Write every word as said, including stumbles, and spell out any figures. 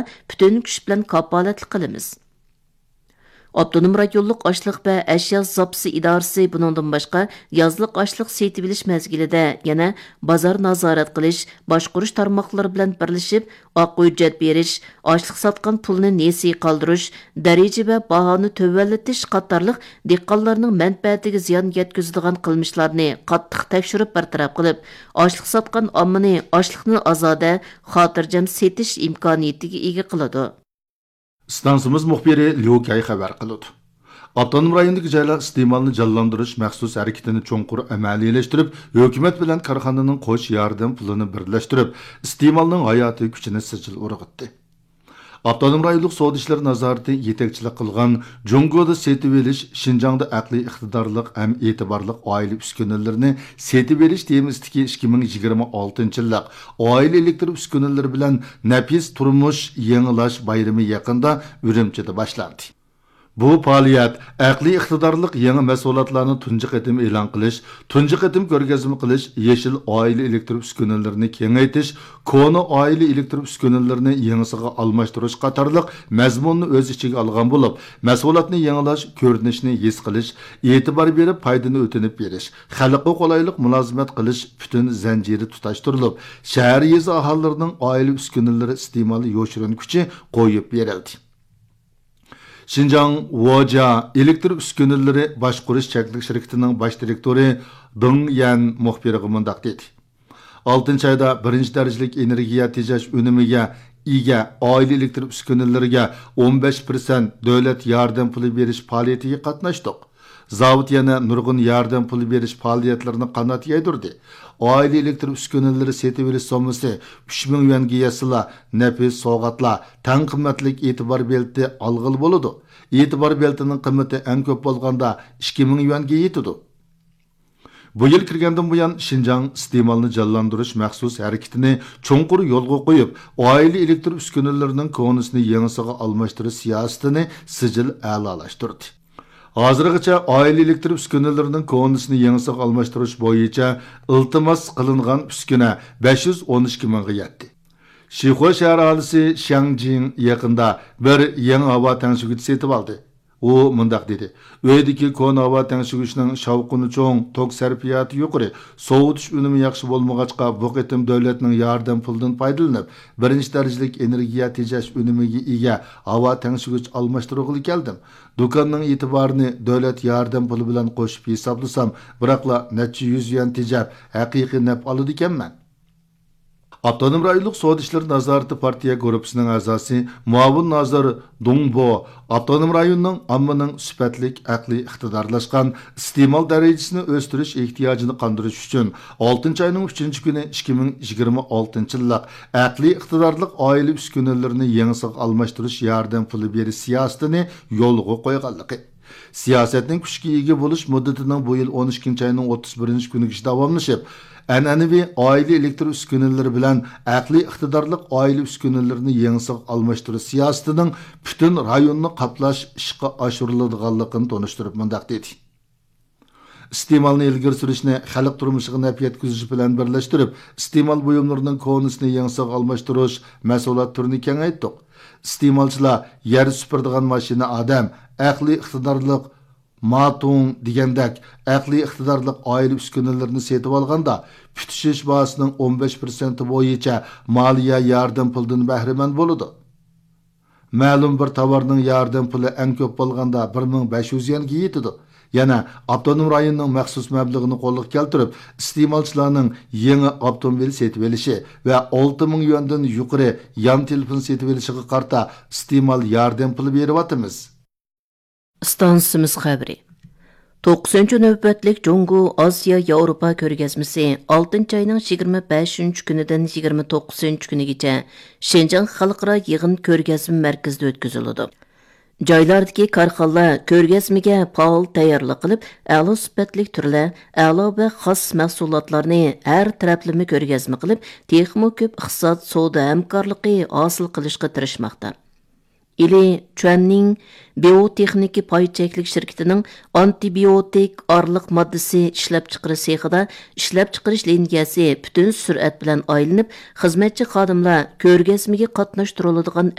پۈتۈن كۈچ بىلەن كاپالەتلىك قىلىمىز. ئاپتونوم رايونلۇق ئاشلىق ۋە ئەشيا زاپىسى ئىدارىسى بۇنىڭدىن باشقا، يازلىق ئاشلىق سېتىۋېلىش مەزگىلىدە يەنە بازار نازارەت قىلىش، باشقۇرۇش تارماقلىرى بىلەن بىرلىشىپ، ئاق ھۆججەت بېرىش، ئاشلىق ساتقان پۇلنى نېسى قالدۇرۇش، دەرىجە ۋە باھانى تۆۋەنلىتىش قاتارلىق دېھقانلارنىڭ مەنپەئەتىگە زىيان يەتكۈزىدىغان قىلمىشلارنى قاتتىق تەكشۈرۈپ بىر تەرەپ قىلىپ، ئاشلىق ساتقان ئاممىنى ئاشلىقنى ئازادە، خاتىرجەم سېتىش ئىمكانىيىتىگە ئىگە قىلىدۇ. ئىستانسىمىز مۇخبىرى ليۇ كەي خەۋەر قىلىدۇ. ئاپتونوم رايوندىكى جايلار ئىستېمالنى جانلاندۇرۇش مەخسۇس ھەرىكىتىنى چوڭقۇر ئەمەلىيلەشتۈرۈپ، ھۆكۈمەت بىلەن كارخانىنىڭ قوش ياردەم پۇلىنى بىرلەشتۈرۈپ، ئىستېمالنىڭ ھاياتىي كۈچىنى سىجىل ئۇرغۇتتى. ئاپتونوم رايونلۇق سودا ئىشلىرى نازارىتى يېتەكچىلىك قىلغان جۇڭگودا سېتىۋېلىش، شىنجاڭدا ئەقلىي ئىقتىدارلىق ھەم ئېتىبارلىق ئائىلە ئۈسكۈنىلىرىنى سېتىۋېلىش تېمىسىدىكى ئىككى مىڭ يىگىرمە ئالتىنچى يىللىق ئائىلە ئېلېكتر ئۈسكۈنىلىرى بىلەن نەپىس تۇرمۇش يېڭىلاش بايرىمى يېقىندا ئۈرۈمچىدە باشلاندى. بۇ پائالىيەت ئەقلىي ئىقتىدارلىق يېڭى مەھسۇلاتلارنى تۇنجى قېتىم ئېلان قىلىش، تۇنجى قېتىم كۆرگەزمە قىلىش، يېشىل ئائىلە ئېلېكتر ئۈسكۈنىلىرىنى كېڭەيتىش، كونا ئائىلە ئېلېكتر ئۈسكۈنىلىرىنى يېڭىسىغا ئالماشتۇرۇش قاتارلىق مەزمۇننى ئۆز ئىچىگە ئالغان بولۇپ، مەھسۇلاتنى يېڭىلاش، كۆرۈنۈشنى ھېس قىلىش، ئېتىبار بېرىپ پايدىنى ئۆتۈنۈپ بېرىش، خەلققە قولايلىق مۇلازىمەت قىلىش پۈتۈن زەنجىرى تۇتاشتۇرۇلۇپ، شەھەر، يېزا ئاھالىلىرىنىڭ ئائىلە ئۈسكۈنىلىرى ئىستېمالى يوشۇرۇن كۈچى قويۇپ بېرىلدى. شىنجاڭ ۋوجيا ئېلېكتر ئۈسكۈنىلىرى باشقۇرۇش چەكلىك شىركىتىنىڭ باش دىرېكتورى دېڭ يەن مۇخبىرغا مۇنداق دېدى: «ئالتىنچى ئايدا بىرىنچى دەرىجىلىك ئېنېرگىيە تېجەش ئۈنۈمىگە ئىگە ئائىلە ئېلېكتر ئۈسكۈنىلىرىگە ئون بەش پىرسەنت دۆلەت ياردەم پۇلى بېرىش پائالىيىتىگە قاتناشتۇق. زاۋۇت يەنە نۇرغۇن ياردەم پۇلى بېرىش پائالىيەتلىرىنى قانات يايدۇردى. ئائىلە ئېلېكتر ئۈسكۈنىلىرى سېتىۋېلىش سوممىسى ئۈچ مىڭ يۈەنگە يەتسىلا، نەپىس سوۋغاتلار، تەڭ قىممەتلىك ئېتىبار بېلىتى ئالغىلى بولىدۇ. ئېتىبار بېلىتىنىڭ قىممىتى ئەڭ كۆپ بولغاندا ئىككى مىڭ يۈەنگە يېتىدۇ.» بۇ يىل كىرگەندىن بۇيان، شىنجاڭ ئىستېمالنى جانلاندۇرۇش مەخسۇس ھەرىكىتىنى چوڭقۇر يولغا قويۇپ، ئائىلە ئېلېكتر ئۈسكۈنىلىرىنىڭ كونىسىنى يېڭىسىغا ئالماشتۇرۇش سىياسىتىنى سىجىل ئەلالاشتۇردى. ھازىرغىچە ئائىلە ئېلېكتر ئۈسكۈنىلىرىنىڭ كونىسىنى يېڭىسىغا ئالماشتۇرۇش بويىچە ئىلتىماس قىلىنغان ئۈسكۈنە بەش يۈز ئون ئىككى مىڭغا يەتتى. شىخۇ شەھەر ئاھالىسى شياڭ جىڭ يېقىندا بىر يېڭى ھاۋا تەڭشىگۈچ سېتىۋالدى. ئۇ مۇنداق دېدى: «ئۆيدىكى كونا ھاۋا تەڭشىگۈچنىڭ شاۋقۇنى چوڭ، توك سەرپىياتى يۇقىرى، سوۋۇتۇش ئۈنۈمى ياخشى بولمىغاچقا، بۇ قېتىم دۆلەتنىڭ ياردەم پۇلىدىن پايدىلىنىپ، بىرىنچى دەرىجىلىك ئېنېرگىيە تېجەش ئۈنۈمىگە ئىگە ھاۋا تەڭشىگۈچ ئالماشتۇرغىلى كەلدىم. دۇكاننىڭ ئېتىبارىنى دۆلەت ياردەم پۇلى بىلەن قوشۇپ ھېسابلىسام، بىراقلا نەچچە يۈز يۈەن تېجەپ، ھەقىقىي نەپ ئالىدىكەنمەن.» ئاپتونوم رايونلۇق سودا ئىشلىرى نازارىتى پارتىيە گۇرۇپپىسىنىڭ ئەزاسى، مۇئاۋىن نازىر دۇڭ بو ئاپتونوم رايوننىڭ ئاممىنىڭ سۈپەتلىك، ئەقلىي ئىقتىدارلاشقان، ئىستېمال دەرىجىسىنى ئۆستۈرۈش ئېھتىياجىنى قاندۇرۇش ئۈچۈن، ئالتىنچى ئاينىڭ ئۈچىنچى كۈنى ئىككى مىڭ يىگىرمە ئالتىنچى يىللىق ئەقلىي ئىقتىدارلىق ئائىلە ئۈسكۈنىلىرىنى يېڭىسىغا ئالماشتۇرۇش ياردەم پۇلى بېرىش سىياسىتىنى يولغا قويغانلىقى، سىياسەتنىڭ كۈچكە ئىگە بولۇش مۇددىتىنىڭ بۇ يىل ئون ئىككىنچى ئاينىڭ ئوتتۇز بىرىنچى كۈنىگىچە داۋاملىشىپ، ئەنئەنىۋى ئائىلە ئېلېكتر ئۈسكۈنىلىرى بىلەن ئەقلىي ئىقتىدارلىق ئائىلە ئۈسكۈنىلىرىنى يېڭىسىغا ئالماشتۇرۇش سىياسىتىنىڭ پۈتۈن رايوننى قاپلاش ئىشقا ئاشۇرۇلىدىغانلىقىنى تونۇشتۇرۇپ مۇنداق دېدى: ئىستېمالنى ئىلگىرى سۈرۈشنى خەلق تۇرمۇشىغا نەپ يەتكۈزۈش بىلەن بىرلەشتۈرۈپ، ئىستېمال بۇيۇملىرىنىڭ كونىسىنى يېڭىسىغا ئالماشتۇرۇش مەھسۇلات تۈرىنى كېڭەيتتۇق. ئىستېمالچىلار يەر سۈپۈرىدىغان ماشىنا ئادەم، ئەقلىي ئىقتىدارلىق ماتۇڭ دېگەندەك ئەقلىي ئىقتىدارلىق ئائىلە ئۈسكۈنىلىرىنى سېتىۋالغاندا، پۈتۈشۈش باھاسىنىڭ ئون بەش پىرسەنتى بويىچە مالىيە ياردەم پۇلىدىن بەھرىمەن بولىدۇ. مەلۇم بىر تاۋارنىڭ ياردەم پۇلى ئەڭ كۆپ بولغاندا بىر مىڭ بەش يۈز يۈەنگە يېتىدۇ. يەنە ئاپتونوم رايوننىڭ مەخسۇس مەبلىغىنى قولغا كەلتۈرۈپ، ئىستېمالچىلارنىڭ يېڭى ئاپتوموبىل سېتىۋېلىشى ۋە ئالتە مىڭ يۈەندىن يۇقىرى يان تېلېفون سېتىۋېلىشىغا قارىتا ئىستېمال ياردەم پۇلى بېرىۋاتىمىز. ئىستانسىمىز خەۋىرى. توققۇزىنچى نۆۋەتلىك جۇڭگو ئاسىيا ياۋروپا كۆرگەزمىسى ئالتىنچى ئاينىڭ يىگىرمە بەشىنچى كۈنىدىن يىگىرمە توققۇزىنچى كۈنىگىچە شىنجاڭ خەلقئارا يىغىن كۆرگەزمە مەركىزىدە ئۆتكۈزۈلىدۇ. جايلاردىكى كارخانىلار كۆرگەزمىگە پائال تەييارلىق قىلىپ، ئەلا سۈپەتلىك تۈرلەر، ئەلا ۋە خاس مەھسۇلاتلارنى ھەر تەرەپلىمە كۆرگەزمە قىلىپ، تېخىمۇ كۆپ ئىقتىساد، سودا ھەمكارلىقى ھاسىل قىلىشقا تىرىشماقتا. ئىلى چۈەننىڭ بىيوتېخنىكا پاي چەكلىك شىركىتىنىڭ ئانتىبىيوتىك ئارىلىق ماددىسى ئىشلەپچىقىرىش سېخىدا ئىشلەپچىقىرىش لىنىيەسى پۈتۈن سۈرئەت بىلەن ئايلىنىپ، خىزمەتچى خادىملار كۆرگەزمىگە قاتناشتۇرۇلىدىغان